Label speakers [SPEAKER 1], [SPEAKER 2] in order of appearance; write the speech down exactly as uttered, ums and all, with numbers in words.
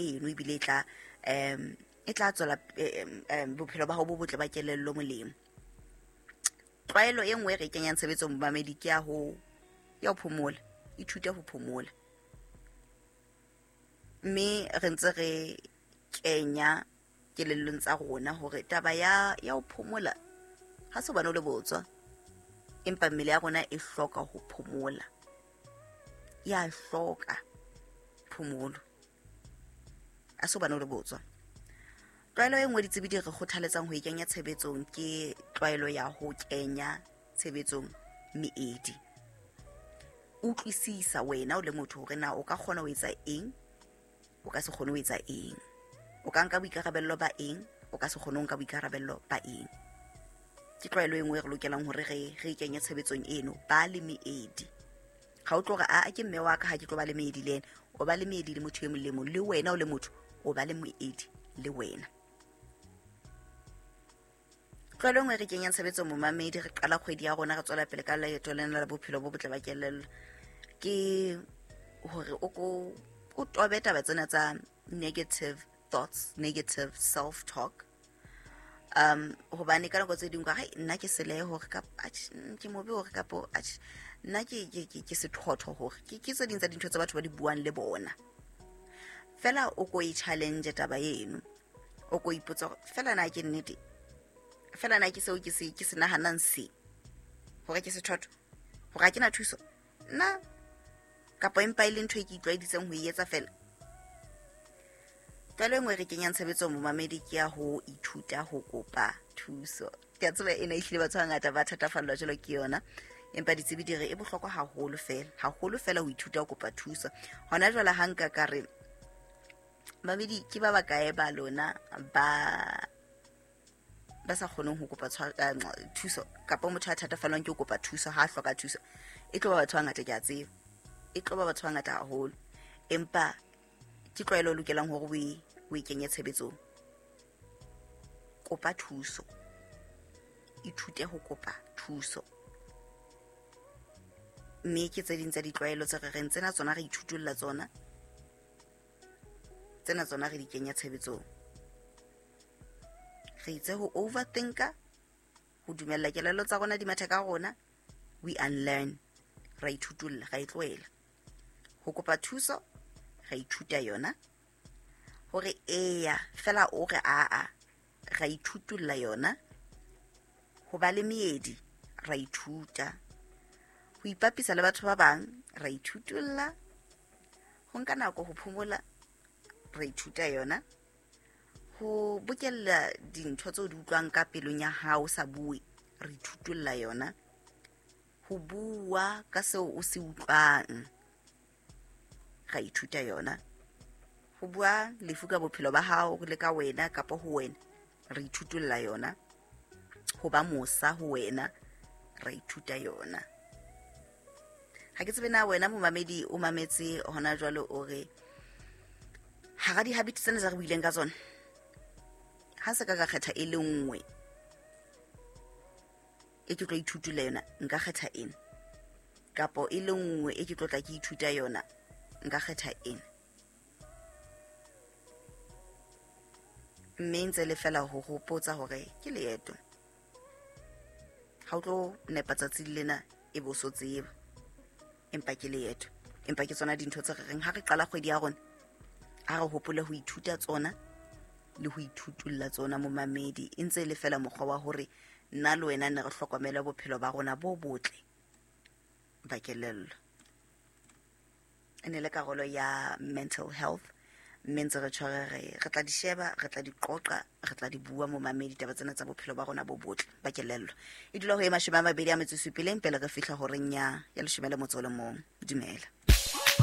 [SPEAKER 1] eno ebile e tla um e tla tswela um bophelo ba hao bo botle ba kelello molemo. Tlwaelo e nngwe e re kenyang tshebetsong momamedi ke ya ho ya ho phomola, ithute ho phomola. Mme re ntse re kenya kelellong tsa rona hore taba ya ya ho phomola ha se hobane o le botswa, empa mmele ya rona e hloka ho phomola, ya hloka phomolo, a se hobane o le botswa. Tlwaelo e nngwe ditsebi di re kgothaletsang ho e kenya tshebetsong ke tlwaelo ya ho kenya tshebetsong meedi. Utlwisisa wena o le motho hore na o ka kgona ho etsa eng, o ka se kgone ho etsa eng, o ka nka boikarabello ba eng, o ka se kgone ho nka boikarabello ba eng. Ke tlwaelo e nngwe e re lokelang hore re re kenye tshebetsong eno, ba le meedi. Ha o tlo re a ke mme wa ka ha ke tlo ba le meedi le ena, o ba le meedi le motho e mong le mong, le wena o le motho o ba le moedi le wena. Tlwaelo e nngwe re kenyang tshebetsong momamedi, re qala kgwedi ya rona re tswela pele ka leeto lena la bophelo bo botle ba kelello, ke hore o ko o tobe taba tsena tsa negative thoughts, negative self talk. Um hobane ka nako tse ding ka re nna ke selehe hore ka ke mobe hore kapo nna ke ke ke sethotho hore ke ke tse ding tsa dintho tsa batho ba di buang le bona. Fela o ko e challenge taba eno, o ko ipotsa hore fela na ke nnete, fela na ke seo ke se ke se nahanang se hore ke sethotho, hore ha ke na thuso nna, kapa empa e le ntho e ke itlwaeditseng ho e etsa fela. Tlwaelo e nngwe re kenyang tshebetsong momamedi ke ya ho ithuta ho kopa thuso. Ke a tseba ena ehlile batho ba bangata ba thatafallwa jwalo ke yona, empa ditsebi di re e bohlokwa haholo fela, haholo fela ho ithuta ho kopa thuso. Hona jwale ha nka ka re mamedi ke ba bakae ba lona ba ba sa kgoneng ho kopa thuso, kapa motho a thatafallwang ke ho kopa thuso ha a hloka thuso, e tlo ba batho ba bangata, ke a tseba e tlo ba batho ba bangata haholo, empa ke tlwaelo e lokelang hore o e o e kenye tshebetsong. Kopa thuso, ithute ho kopa thuso. Mme ke tse ding tsa ditlwaelo tse re reng tsena tsona re ithutolla tsona, tsena tsona re di kenya tshebetsong. Re itse ho overthinker, ho dumella kelello tsa rona di mathe ka rona, we unlearn, ra ithutolla, ra e tlohela. Ho kopa thuso ra ithuta yona, hore eya fela o re aa ra ithutolla yona. Ho ba le meedi ra ithuta, ho ipapisa le batho ba bang ra ithutolla, ho nka nako ho phomola ra ithuta yona, ho bokella dintho tseo di utlwang ka pelong ya hao sa bue re ithutolla yona, ho bua ka seo o se utlwang ra ithuta yona, ho bua lefu ka bophelo ba hao le ka wena kapa ho wena re ithutolla yona, ho ba mosa ho wena ra ithuta yona. Ha ke tsebe na wena momamedi o mametse hona jwale o re hara di-habit tsena tse re buileng ka tsona, ha se ka ka kgetha e le nngwe e ke tlo ithutola yona, nka kgetha ena, kapo e le nngwe e ke tlo tla ke ithuta yona, nka kgetha ena. Mme ntse le fela ho hopotsa hore ke leeto, ha o tlo nepa tsatsi lena e bo so tseba, empa ke leeto. Empa ke tsona dintho tse re reng ha re qala kgwedi ya rona, ha re hopole ho ithuta tsona le ho ithutolla tsona momamedi. E ntse le fela mokgwa wa hore nna le wena ne re hlokomele bophelo ba rona bo botle ba kelello. E ne le karolo ya mental health, mme ntse re tshware re re tla di sheba, re tla di qoqa, re tla di bua momamedi taba tsena tsa bophelo ba rona bo botle ba kelello. E dula ho e mashome a mabedi a metso e supileng pele re fihla horeng ya ya leshome le motso o le mong. Dumela.